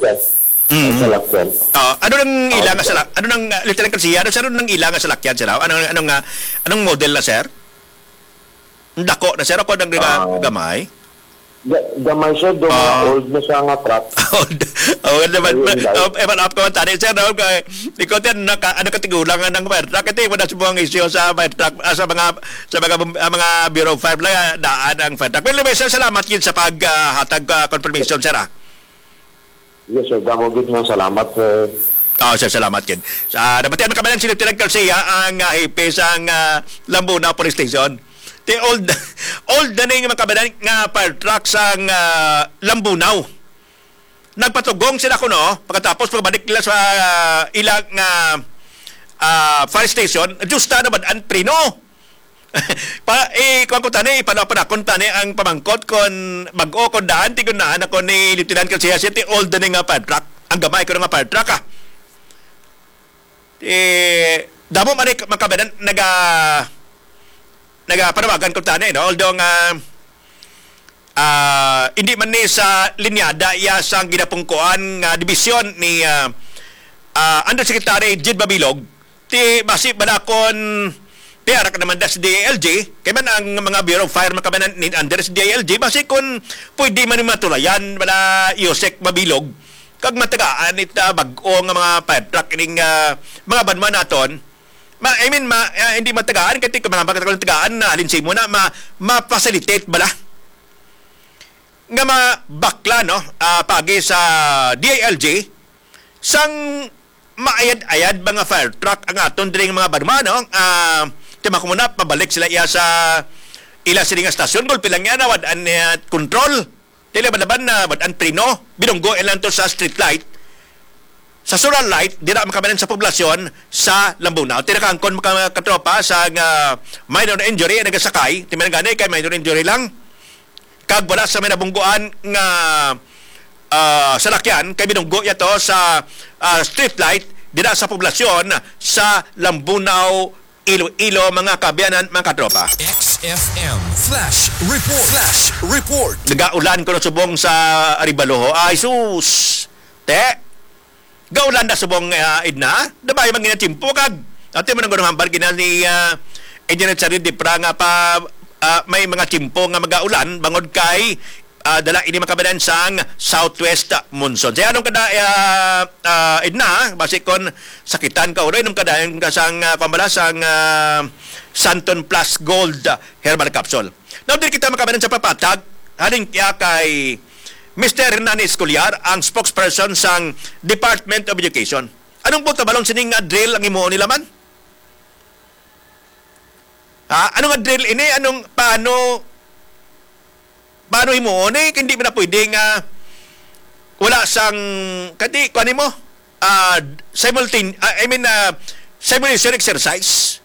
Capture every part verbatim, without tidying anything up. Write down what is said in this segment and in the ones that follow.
Yes. Ang Mm. salakyan. Ah, ano nang ila nga Okay. salak-, ano nang, ah, Lieutenant Garcia, ano, sir, ano nang ila nga salakyan, sir? Ano, ano nga, anong model na, sir? Ang dako na, sir, ako nang ga-, Ah. gamay? Ga-, gamay, sir, do mga Ah. old na siya nga truck. Old. Oh, ano naman, Ayun, guys. Oh, eh, man, up ka man tani, sir, no? Kay, ikaw, sir, naka-, ano, katigulangan ng fire truck? Ito yung wala sa mga issue sa fire truck, ah, sa mga, sa mga bum-, ah, mga Bureau of Fire, wala daan ang fire truck. Well, anyway, sir, salamat yun sa pag, ah, hatag, ah, confirmation, sir, ah. Yes, sir. Damo gid nga salamat, sir. Oh, sir, salamat gid. Sa nabatian man kami si Lieutenant Garcia, ang, ah, hepe sang, ah, Lambunao Police Station. Ti old, old na ning mga kabanan nga fire truck sang, ah, Lambunao. Nagpatugong sila kuno, pagkatapos pagbalik nila sa, ah, ilang, ah, ah, fire station, justa na bad ang preno. Pa, eh, kuwan ko tani, ipanaw-panakon tani ang pamangkot kon bag-o kon daan, tigon na ako ni Lieutenant Garcia, city old na ni nga fire truck. Ang gamay ko nga fire truck, ah. Eh, damo man ni makabanan, naga-, nagapanawagan ko tani, no? Although nga, ah, hindi man ni sa linyada iya sang ginapungkuan nga dibisyon ni, ah, ah, Undersecretary Jid Mabilog, ti basi bala kon ti ara ka naman da sa D I L G, kay man ang mga Bureau of Fire makabanan ni under sa D I L G, basi kon pwede man ni matulayan bala Yusek Mabilog, kag matagaan ita bag-o nga mga fire truck ining, ah, mga banwa naton. Ma-, I mean, ma-, ah, hindi matagaan, kay ti-, mga tagaan na, halin sa imo na, ma-, ma-facilitate bala nga mabakla, no, ah, pagi sa D I L G, sang maayad-ayad mga fire truck ang aton diri nga mga banwa, no? Ah, ti makumuna, pabalik sila iya sa ila sini nga stasyon, gulpi lang yan, nawad-an niya control. Dili ba naman na wad ang preno? Binunggo lang to sa street light. Sa solar light, dira makamanan sa poblasyon sa Lambunao. Tinakangkon mga katropa sa nga minor injury ang nagasakay. Ti man gani kay minor injury lang. Kag wala sa may nabungguan nga, ah, salakyan, kay binunggo niya to sa, ah, street light dira sa poblasyon sa Lambunao, Iloilo, mga kaabyanan, mga katropa. X F M Flash Report. Flash Report. Nagaulan kuno subong sa Arevalo. Ay, sus! Te, gaulan na subong, ah, Edna. Dabay man gina tiyempo kag. Ate mo nang gunong hambal gina ni, ah, Engineer Charid Dipra nga pa, ah, may mga tiyempo nga magaulan bangod kay, ah, dala ini makabanan sang southwest monsoon. Sa anong kada, ah, ah, Edna, basi kon sakitan ka, uroy, nung kadayon ka sang, ah, pambala sang, ah, Santon Plus Gold, ah, Herbal Capsule. Now, diri kita makabanan sa papatag, halin kaya kay Mister Hernani Escolar, ang spokesperson sang Department of Education. Anong po tabalon sining nga drill ang himuon nila man? Ha? Ano nga drill ini? Anong, paano, paano himuon eh? Hindi man na pwede nga wala sang, kadi, kuwan mo? Ah, simultane-, ah, I mean, ah, simulation exercise.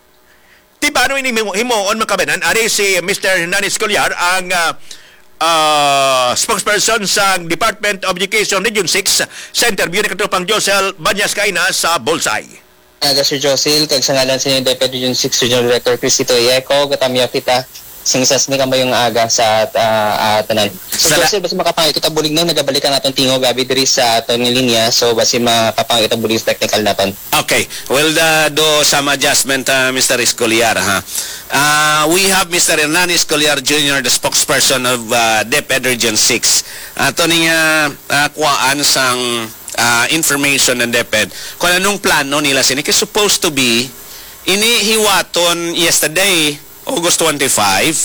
Ti paano ini himo-, himuon, mga kabanan? Ari si Mister Hernani Escolar, ang, ah, ah, spokesperson sa Department of Education Region six, sa interview ni Katropang Josel Banyas Kaina sa Bullseye. Aga, Sir Josil, kag sa ngalan sa inyo, DepEd Region six Regional Director Crisito Yeco, gatamyaw kita sing sas ni kamayong aga sa, ah, ah, tanan. Sir Sala- Josil, basi makapangay kita bulig na, nagabalik ang atong tingog, abi, diri sa atong linya, so basi makapangay kita bulig sa technical naton. Okay. Well, uh, do some adjustment, uh, Mister Escolar, ha? Uh, we have Mister Hernani Escolar Junior, the spokesperson of, uh, DepEd Region six. Ato ni nga, uh, kuwaan sang, uh, information ng DepEd kung anong plano nila sini. Kay supposed to be, ini hiwaton yesterday, August twenty-five.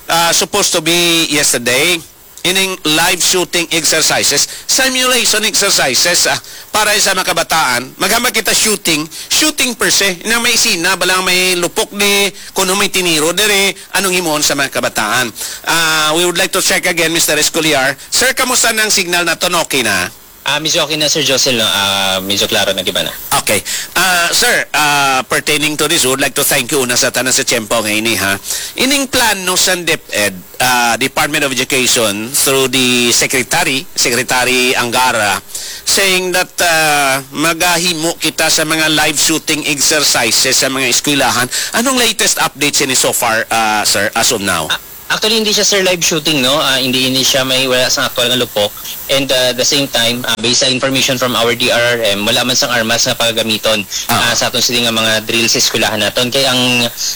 Uh, supposed to be yesterday. Ining live shooting exercises, simulation exercises, ah, para sa mga kabataan. Maghamag kita shooting, shooting per se, na may sina, balang may lupok di, kung may tiniro dire, anong himuon sa mga kabataan. Ah, we would like to check again, Mister Escoliar. Sir, kamusta na ang signal naton? Okay na? Ah, medyo okay na, Sir Josel, no? Ah, medyo klaro na, di ba na? Okay. Ah, sir, ah, pertaining to this, we would like to thank you una sa tanan sa tiyempo nga ini, ha. Ining plano sa DepEd, ah, Department of Education through the Secretary, Secretary Angara, saying that, ah, magahimo kita sa mga live shooting exercises sa mga eskwelahan. Anong latest updates ini so far, ah, sir, as of now? Ah, Actually, hindi siya, sir, live shooting, no? Ah, hindi, hindi siya may wala sa aktual nga lupok. And, ah, the same time, ah, based sa information from our D R R M, wala man sang armas nga pagagamiton, ah, sa aton sini nga mga drill sa eskwelahan naton. Kay ang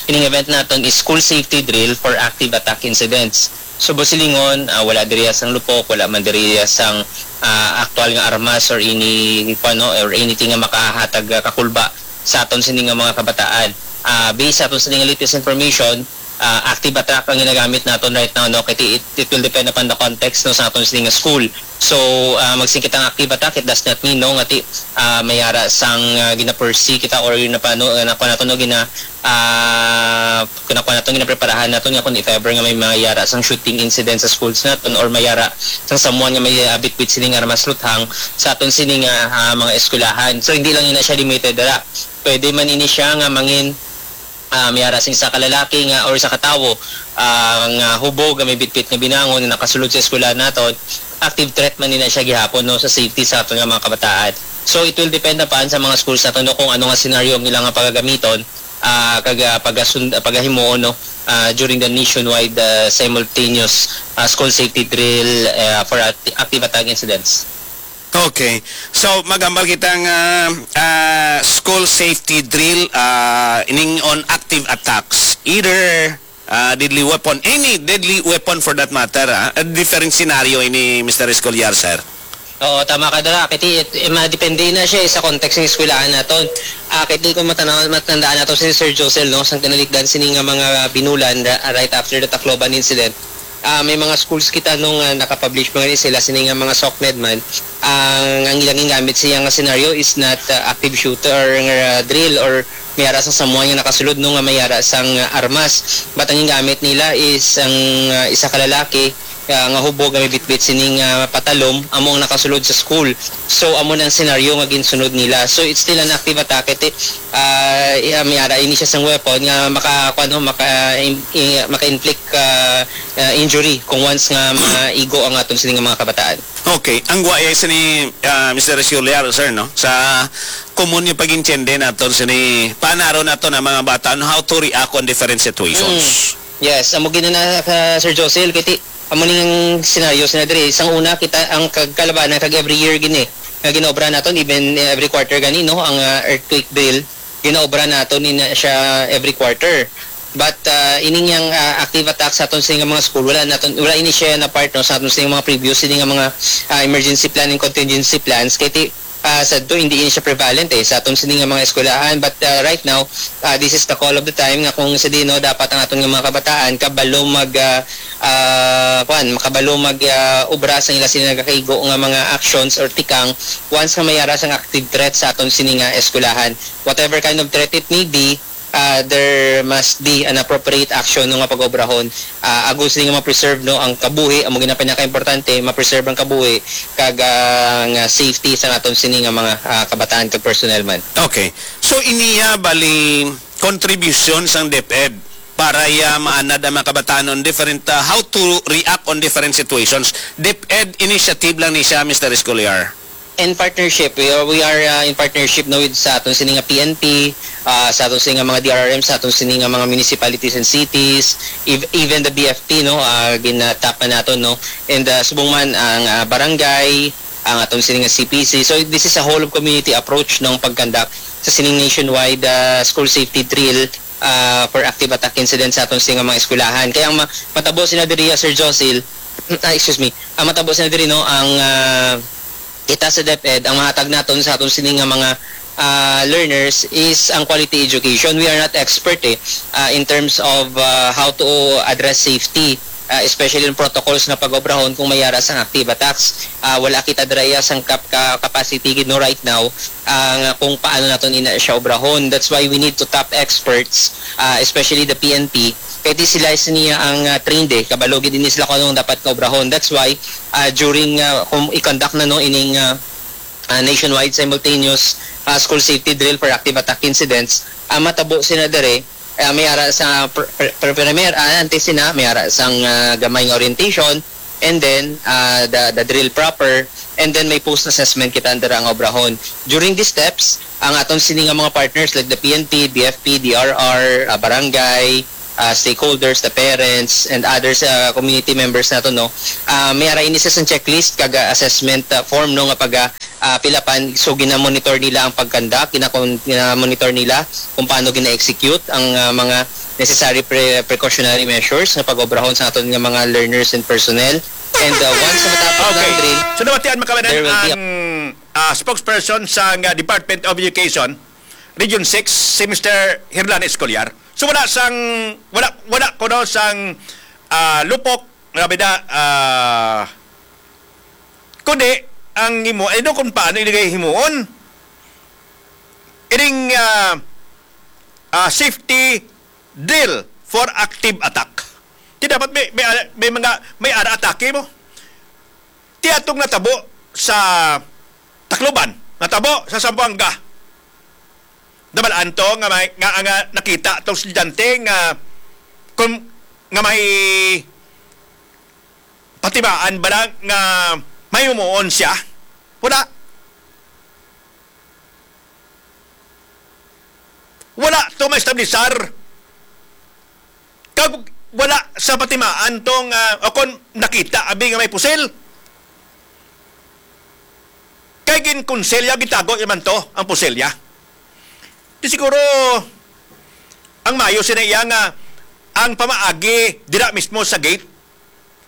ining event naton is school safety drill for active attack incidents. So, busilingon, ah, wala diri sang lupok, wala man diri sang, ah, aktual nga armas or any, kuwan, no, or anything nga makahatag, ah, kakulba sa aton sini nga mga kabataan. Ah, based sa aton sini nga latest information, ah, active attack ang ginagamit naton right now, no? Kay it, it will depend upon the context, no, sa aton sini nga school. So, ah, magsing kita nga active attack, it does not mean, no, nga ti, ah, may ara sang, ah, ginapursue kita or yun na pa, no, ah, nakuha naton, no, gina, ah, kung nakuha naton, ginapreparahan naton nga kung if ever nga may mayara sang shooting incident sa schools naton or mayara sang someone nga may, ah, bitbit sining armas luthang sa aton sini nga, ah, mga eskwelahan. So, hindi lang ina siya limited dira. Pwede man ini siya nga mangin, ah, may ara sing isa ka lalaki nga or isa ka tawo, ah, nga hubog nga may bitbit nga binangon nga nakasulod sa eskwelahan naton, active threat man nila siya gihapon, no, sa safety sa aton nga mga kabataan. So, it will depend upon sa mga schools naton, no, kung ano nga scenario ang ilang nga pagagamiton, ah, kag, ah, pagasun-, pagahimuon, no, ah, during the nationwide, ah, simultaneous, ah, school safety drill, ah, for acti-, active attack incidents. Okay. So, magambal kita nga, ah, school safety drill, ah, ining on active attacks. Either, ah, deadly weapon, any deadly weapon for that matter, ah. A different scenario ini, Mister Escolar, sir. Oo, tama ka dira. Kay ti-, eh, madepende na siya, eh, sa context ng eskwelahan naton. Ah, kay ti-, kung matanaw-, matandaan nato si Sir Josel, no, sang tinalikdan sini nga mga binulan ra-, right after the Tacloban incident. Ah, may mga schools kita nung, ah, nakapublish mga ni sila sini nga mga SOCMED man. Ang, ang ilang gingamit siya nga scenario is not, ah, active shooter nga drill or may ara sang someone nga nakasulod, no, nga may ara sang, ah, armas. But ang gingamit nila is ang, ah, isa ka lalaki, ah, nga hubog nga may bitbit sining, ah, patalom amo ang nakasulod sa school. So, amo na ang scenario nga ginsunod nila. So, it's still an active attack. Iti, ah, i-, ah, may ara ini siya sang weapon nga maka, kuwan, no, maka, im-, i-, maka-inflict, ah, ah, injury kung once nga maigo ang aton sini nga mga kabataan. Okay, ang guwaya sini, ah, Mister Escolar, sir, no? Sa common nga pag-intindi naton sini, paanaron naton ang mga bata on how to react on different situations. Mm. Yes, amo gid na, ah, Sir Josel, kay ti-, amo ning senaryo sina diri. Sang una, kita ang kag-, kalabanan kag every year gini nga ginaobra naton, even every quarter gani, no, ang, ah, earthquake drill, ginaobra naton ni na siya every quarter. But, ah, ining yang, ah, active attack sa aton sini nga mga school, wala naton, wala ini siya na part, no, sa aton sini nga mga previous, sini nga mga, ah, emergency plan and contingency plans. Kay ti-, ah, sa to, hindi ini siya prevalent, eh, sa aton sini nga mga eskwelahan. But, ah, right now, ah, this is the call of the time nga kung sa dino dapat ang aton nga mga kabataan kabalo mag, ah, ah, kuwan, makabalo mag, ah, obra sa ila sila nagakaigo nga mga actions or tikang once nga may ara sang active threat sa aton sini nga eskwelahan. Whatever kind of threat it may be, ah, there must be an appropriate action, no, nga pag-obrahon, ah, agod sini nga ma-preserve, no, ang kabuhi, amo gid ang pinaka-importante, ma-preserve ang kabuhi kag, ah, nga safety sa aton sini nga mga, ah, kabataan kag personnel man. Okay. So, iniya bali contribution sang DepEd para ya maanad ang mga kabataan on different, ah, how to react on different situations. DepEd initiative lang ni siya, Mister Escolar. In partnership, we are, we are, uh, in partnership, no, with sa aton sini nga P N P, uh, sa aton sini nga mga D R R M, sa aton sini nga mga municipalities and cities, ev-, even the B F P, no, uh, ginatap na nato, no, and, uh, subong man ang, uh, barangay, ang aton sini nga C P C. So, this is a whole of community approach ng pag-conduct sa sining nationwide, uh, school safety drill, uh, for active attack incidents sa aton sini nga mga eskwelahan. Kaya ang ma-, matabo sina diri, uh, Sir Josil, ah, excuse me, ang matabo sina diri, no, ang, uh, kita sa DepEd, ang mahatag naton sa aton sini nga mga, ah, learners is ang quality education. We are not expert, eh, ah, in terms of, ah, how to address safety, ah, especially in protocols nga pag-obrahon kung may ara sang active attacks. Ah, wala kita dira iya sang kap-, ka-, capacity gid, no, right now, ah, nga kung paano naton ina siya obrahon. That's why we need to tap experts, ah, especially the P N P. Kay di sila sini ang, ah, trained, eh. Kabalo gid ini sila kung anong dapat nga obrahon. That's why ah, during, ah, kung i-conduct na, no, ining, ah, ah, nationwide simultaneous, ah, school safety drill for active attack incidents, ah, matabo sina diri, ah, may ara sa pr-, pr-, pr-, primer, ah, antes sina, may ara sang, ah, gamay nga orientation, and then, ah, the, the drill proper, and then may post-assessment kita under ang obrahon. During these steps, ang aton sini nga mga partners like the P N P, B F P, D R R, ah, barangay, ah, stakeholders, the parents, and others, ah, community members nato, no? Ah, may ara ini sa isang checklist kag, ah, assessment, ah, form, no, nga pag, ah, ah, pilapan. So, gina-monitor nila ang pag-conduct, gina-, gina-monitor nila kung paano gina-execute ang, ah, mga necessary pre-, precautionary measures nga pag-obrahon sa aton nga mga learners and personnel. And, ah, once matapos na ang Okay. drill, So, nabatian mo ka ba there will be a ang, ah, spokesperson sa, ah, Department of Education, Region six, si Mister Herlan Escolar? So, wala sang, wala, wala kuno sang, ah, lupok, grabe na, ah, kundi ang himo, I know kung paano ilagay himuon. Ining, ah, ah, safety drill for active attack. Di dapat may, may, may mga, may ara atake mo. Ti atong natabo sa Tacloban, natabo sa Zamboanga. Nabalaan to nga may, nga, nga nakita tong estudyante nga kung, nga may patimaan ba lang nga may umuon siya? Wala. Wala to maestablisar. Kag wala sa patimaan tong, ah, o kon nakita abi nga may pusil. Kay ginkonselya, gitago niya man to, ang pusilya. Di siguro, ang mayo sina iya nga ang pamaagi dira mismo sa gate,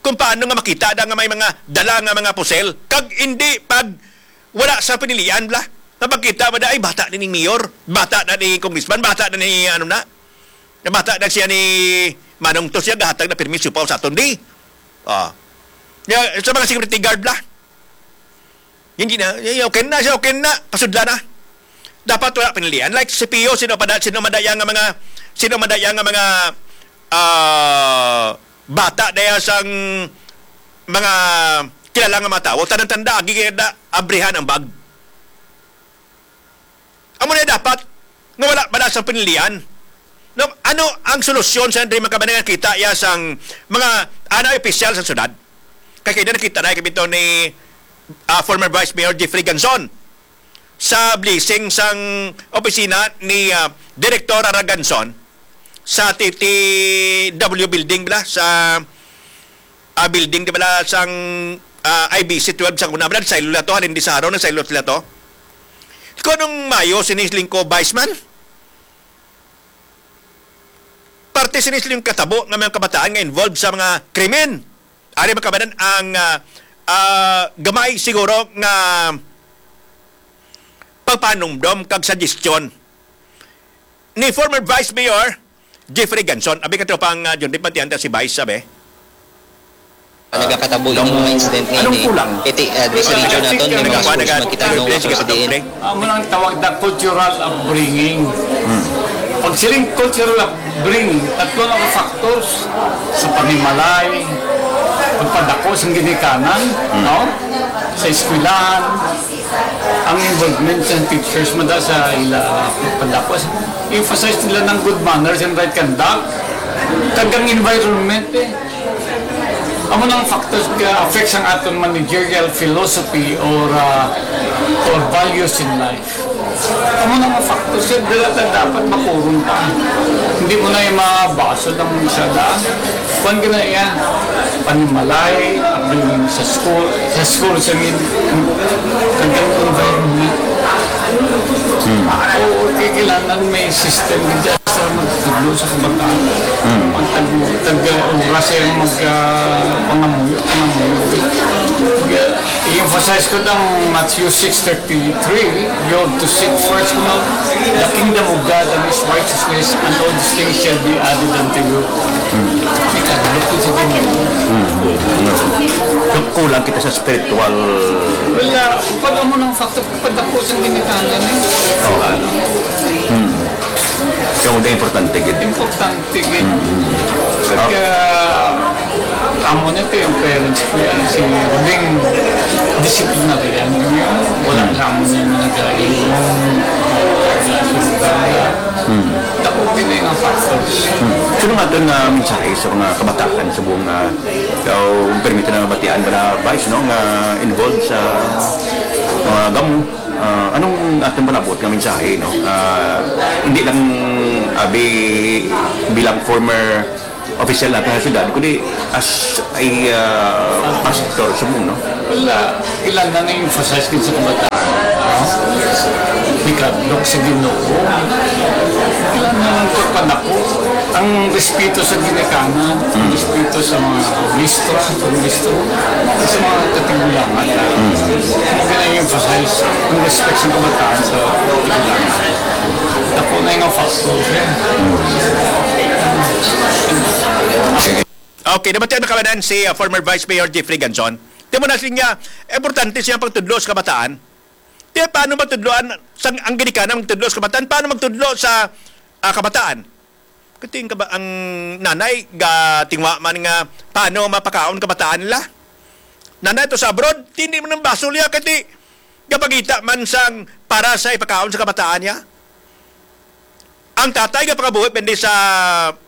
kung paano nga makita da nga may mga dala nga mga pusil, kag hindi pag wala sa pinilian, bla. Nga pagkita mo na, ay, bata na ni mayor, bata na ni congressman, bata na ni, ano na, na bata na siya ni Manong to siya, gahatag na permi siopaw sa aton, di. Ah. Ya, sa mga security guard, bla. Hindi na, y-, okay na siya, okay na, pasudla na. Dapat wala pinilian. Like si Pio, sino pa da-, sino madaya nga mga, sino madaya nga mga, ah, bata daya sang mga kilala nga mga tawo, tanang tanda, agi kaya da, abrihan ang bag. Amo na dapat nga wala, wala sang pinilian. No, ano ang solusyon sa Andre Magkabanay nga kita iya sang mga anay opisyal sa syudad? Kay kaya nakita na kay bitaw ni, ah, former Vice Mayor Jeffrey Ganzon sa blessing sang opisina ni, ah, Director Ara Ganzon sa T T W building bala sa, ah, building di bala sang, ah, I B C twelve sa una bala, saylo la to, halin di sa araw na saylo sila to. Kung anong mayo sini Lingko Vice man, parte sini sila yung katabo nga mga kabataan nga involved sa mga krimen. Ari makabanan ang, ah, ah, gamay siguro nga pagpanumdom kag suggestion ni former Vice Mayor Jeffrey Ganson. Abi ka tropang, ah, John Dick, matiyan ta si Vice, sabi. Nagakatabo ini mga incident nga Anong ini. Kulang? Iti, ah, di sa region naton, may mga schools nga kita no, Sige, sa sige, diin. Amo nang tawag na cultural upbringing. Pag siling cultural upbringing, tatlo na ka factors. Sa panimalay, pagpadako sa ginikanan, no? Sa eskwelahan, ang involvement sa teachers, mada sa ila pagpadako. Emphasize nila ng good manners and right conduct. Kag ang environment, eh. Amo nang factors nga affects ang aton managerial philosophy or, ah, or values in life. Amo nang factors nga dala ta dapat makuron ta. Hindi mo na yung mabasol ng sa daan. Kwan ka na yan. Panimalay, upbringing sa school, sa school, sa min-, kag ang environment. Hmm. Oo, kay kailangan may system dyan. Sa magtudlo sa kabataan. Mm. Ang tag-, tag-, oras ay mag, ah, pangamuyo, pangamuyo. Kaya, i-emphasize ko ng Matthew six thirty-three, "You have to seek first, you know, the kingdom of God and His righteousness, and all these things shall be added unto you." Mm. May kadlok ko sa kanya. Mm. Kulang kita sa spiritual. Wala. Pag amo ng factor, pagdako sa ginikanan, eh. Oo. Mm. Kamo din importante gid. Importante gid. Mm. Pagka amo na ito yung parents ko yan, si Roding, disciplinarian yun. Wala Mm. sa amo na yung mga gaya yung Mm. Tapos din yung factors. Mm. Sino nga doon na mensahe sa mga kabataan sa buong, ah, o permit na batian ba na Vice, no, nga involved sa mga gamo? Ah, anong atong palabot nga mensahe, no? Ah, hindi lang abi bilang former official natin sa syudad, kundi as a, ah, pastor sa mundo. Wala. Kailangan na emphasize din sa kabataan. No? Ikadlok sa Ginoo. Kailangan ng pagpanako. Ang respeto sa ginikanan, ang respeto sa mga obispo, sa obispo, sa mga katigulangan. Ang pinag-emphasize, ang respect sa kabataan sa katigulangan. Ako na yung factor, eh. Okay, nabatian na kamanan si uh, former Vice Mayor Jeffrey Ganson. Di mo na siya, importante siya pagtudlo sa kabataan. Di paano magtudloan sa ang ginikanan magtudlo sa kabataan? Paano magtudlo sa ah, kabataan? Kati ang, kaba- ang nanay ga tingwa man nga paano mapakaon kabataan nila. Nanay to sa abroad, hindi man ang basol niya kati gapangita man sang para sa ipakaon sa kabataan niya. Ang tatay gapangabuhi pindi sa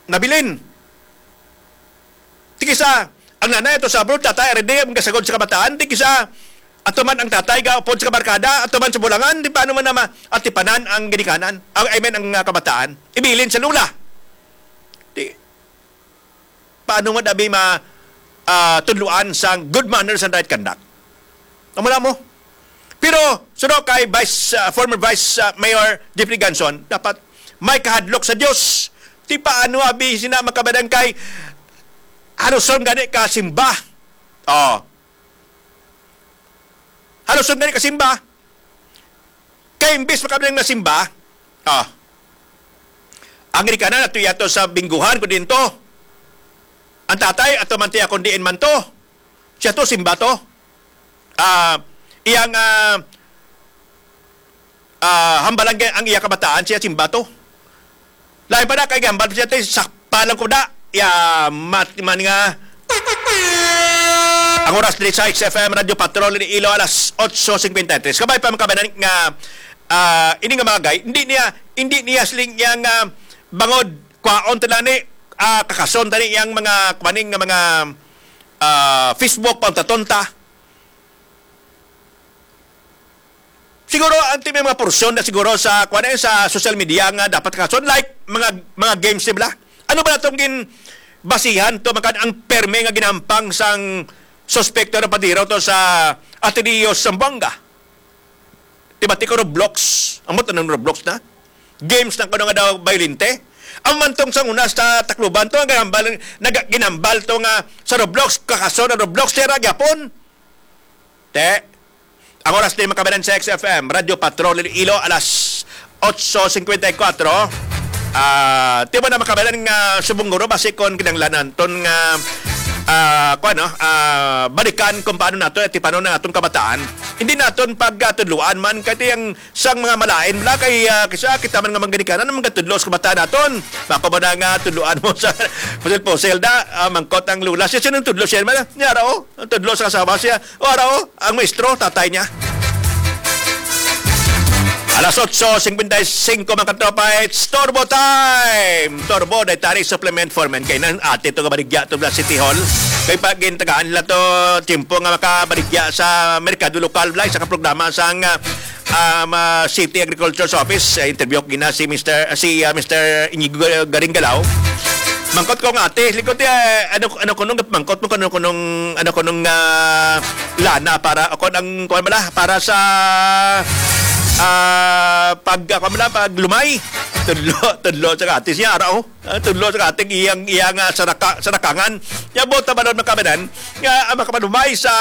nabilin. Ti kisa, ang nanay ato sa abroad, tatay, ari di, ang gasagod sa kabataan, ti kisa, ato man ang tatay, gaupod sa kabarkada, ato man sa bulangan, di paano man naman, atipanan ang ginikanan, ang, I mean, ang ah, kabataan, ibilin sa lula. Di, paano man abi ma, ah, tudluan sang good manners and right conduct? Amo na mo. Pero, suno kay Vice, ah, former Vice ah, Mayor Jeffrey Ganson, dapat may kahadlok sa Dios. Ti paano abi sina makabadan kay haluson gani ka simba? Oh. Haluson gani ka simba? Kay imbis makabadan nga simba, oh. Ang ginikanan ato yato sa bingguhan ko dinto. Ang tatay ato man tiya kung diin man to. Siya to simba to. Ah, iyang ah, ah, hambalan kay ang iya kabataan siya simba to. Lain pa na kay gambal siya tay sakpa lang ko da. Ya mat man nga ang oras diri sa X F M Radio Patrol ni Ilo alas otso cincuenta y tres. Kabay pa makabanan nga ah, ini nga mga gay, hindi niya hindi niya siling niya nga bangod kwaon tala ni ah, kakason tani yang mga kumaning nga mga ah, Facebook paunta-tonta. Siguro ang ti may mga porsyon na siguro sa kuan sa social media nga dapat kason like mga mga games nila. Ano ba natong gin basihan to makan ang perme nga ginampang sang suspekto na padiro to sa Ateneo Zamboanga? Di ba ti ko Roblox? Amo to ng Roblox na? Games na kuno nga daw violente. Ang mantong sang una sa Tacloban to, ang ginambal, naga, ginambal to nga sa Roblox, kakaso na Roblox, sira gyapon. Te, ang oras din makabanan sa X F M, Radio Patrol Iloilo, alas otso cincuenta y cuatro. Ah, ti mo na makabanan nga subong guro, basi kon kinanglanan ton nga ah, kuwan, no? Ah, balikan kung paano nato, eh, tipanon na atong kabataan. Hindi naton pagkatudloan man, kay ti ang sang mga malain bala kay ah, kisa kita man nga mangganikanan ang magatudlo sa kabataan naton. Mako ba na nga tudloan mo sa pusil-pusil da, ah, mangkot ang lula siya, sino ang tudlo siya man? Niya ra, oh, ang tudlo sa kasawa siya. O ara, oh, ang maestro, tatay niya. Alas otso cincuenta y cinco, mga katropa, it's Turbo Time! Turbo, dietary supplement for men. Kay nang ate to kabaligya to sa City Hall. Kay pag gintagaan nila to, tiyempo nga makabaligya sa merkado lokal, like, sa kaprograma sang ah, um, ah, City Agriculture's Office. Eh, interview ko gina si Mister si ah, Mister Inigo Garinggalaw. Mangkot ko nga ate, likod eh, ano ano kunong mangkot mo kunong kunong ano kunong ah, lana para ako ang kuan bala para sa ah, pag ako bala pag lumay. Tudlo, tudlo sa ate siya ara, oh. Ah, tudlo sa ating iyang iyang ah, sa naka, sa nakangan. Ya bota balon makabanan nga ang makapanumay sa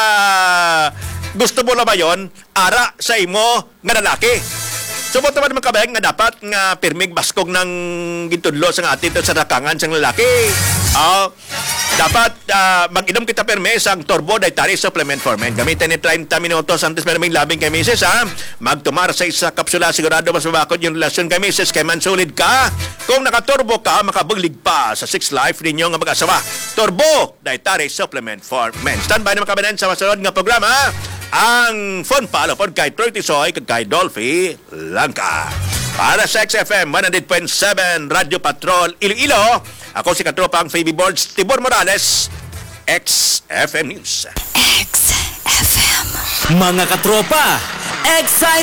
gusto mo lamayon ara sa imo nga lalaki. Subot naman mga kabayan nga dapat nga pirmig baskog nang gintudlo sa nga atin sa rakangan sang lalaki. Ah, dapat ah, mag-inom kita pirme sang Turbo Dietary Supplement for Men. Gamitin ni treinta minutos antes pirming labing kay misis, ha. Magtumar sa isa kapsula, sigurado mas mabakod yung relasyon kay misis kay mansulid ka. Kung nakaturbo ka, makabuglig pa sa sex life ninyo nga mag-asawa. Turbo Dietary Supplement for Men. Standby na mga kabayan sa masunod nga programa, ang Fun Palo pod kay Troy Tisoy kag kay Dolphy Langka. Para sa X F M one hundred point seven Radyo Patrol Iloilo, ako si Katropang Phoebe Borge Tibor Morales, X F M News. X F M. Mga katropa, excited!